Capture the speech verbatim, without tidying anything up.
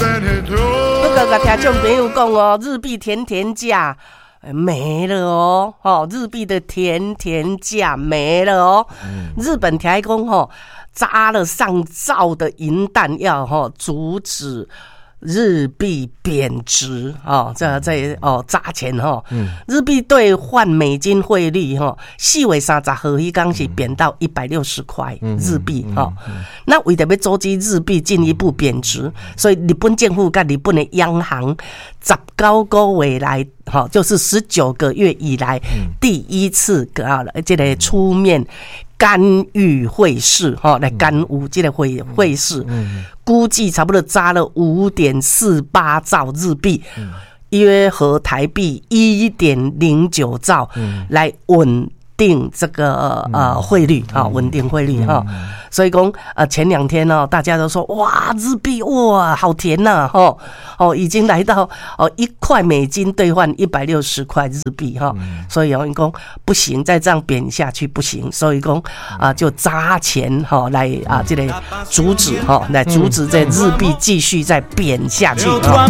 不過，共聽眾朋友講哦，日幣甜甜價沒了哦，吼，日幣的甜甜價沒了哦。日本聽講吼，砸了上兆的銀彈，要吼阻止日幣貶值哦，這這哦砸錢吼，日幣兌換美金匯率吼，四月三十號彼工是貶到一百六十塊日幣吼。那為著欲阻止日幣進一步貶值，所以日本政府佮日本的央行十九個月來，吼，就是十九個月以來第一次啊，這个出面干預匯市，吼，來干預這個匯匯市，估計差不多砸了五點四八兆日幣，約合台幣一點零九兆，來穩定這個呃匯率啊，穩定匯率哈。所以講呃前兩天呢，大家都說哇，日幣哇好甜吶，吼哦，已經來到哦一塊美金兌換一百六十塊日幣哈。所以哦講不行，再這樣貶下去不行，所以講啊就砸錢哈來啊這個阻止哈，來阻止這日幣繼續再貶下去。